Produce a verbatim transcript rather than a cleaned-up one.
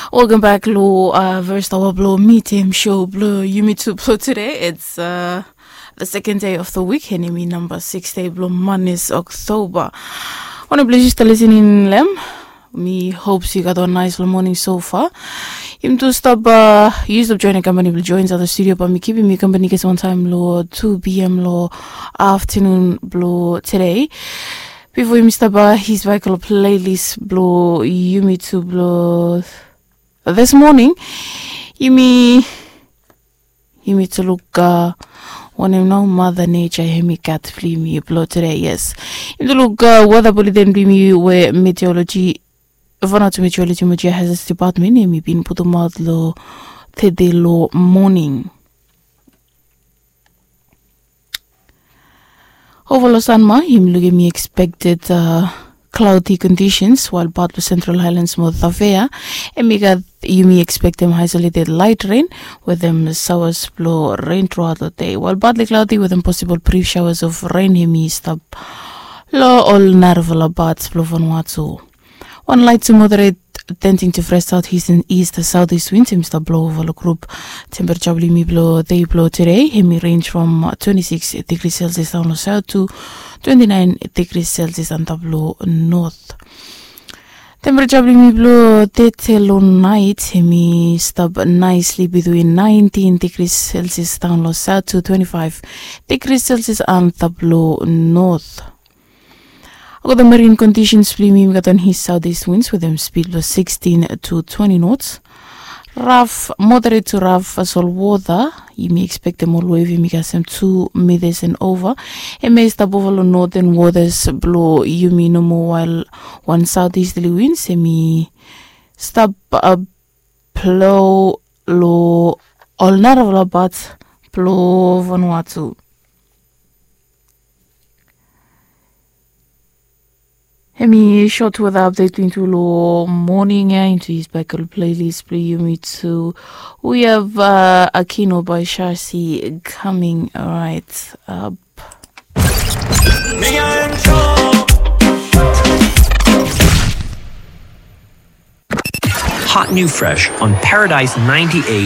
Welcome back lo uh, first hour blo Medium Show blo yumi tu blo today. It's uh, the second day of the week, and yumi number six day blo Mondays, October. Wana blo just listening lem. Mi hope you got a nice morning so far. Yumi tu stop uh, use of joining company will join the studio, but mi keeping mi company case one time lo two p.m. lo afternoon blo today. Before yumi stop uh, his vocal playlist blo yumi tu blo this morning, yumi yumi tu luk uh, wanem nao Mother Nature hemi gat blo yumi blo today. Yes, yumi tu luk uh, weather bulletin blo yumi we meteorology, Vanuatu Meteorology Meteor Hazards Department hemi bin putumaot lo tede lo morning. Ova lo Sanma, yumi lukim expected uh, cloudy conditions, while part of Central Highlands mo Tafea, hemi gat yumi expectem isolated light rain with them showers blo rain throughout the day, while partly cloudy with them possible brief showers of rain hemi stap lo ol narafala parts blo Vanuatu. Wan light to moderate tending to fresh southeast and east southeast winds hemi stap blo ova lo group. Temperature blo yumi blo dei blo today hemi range from twenty-six degrees Celsius down lo south to twenty-nine degrees Celsius antap lo north. Temperature blo yumi blo dei te lo night hemi stap nicely between nineteen degrees Celsius down lo south to twenty-five degrees Celsius antap lo north. Oke, the marine conditions blo yumi, yumi gat wan his southeast winds with them speed blo sixteen to twenty knots. Rough, moderate to rough vessel water. Yumi expectem ol wave hemi kasem two meters and over. Hemi stap ova lo northern waters blo yumi nomo, while wan southeasterly winds hemi stap uh, blo lo ol narafala parts blo Vanuatu. Hemi short weather update blo yumi tu lo morning ya into his back playlist blo yumi tu. We have uh, Akino by Sharsi coming right up. Hot new fresh on Paradise ninety-eight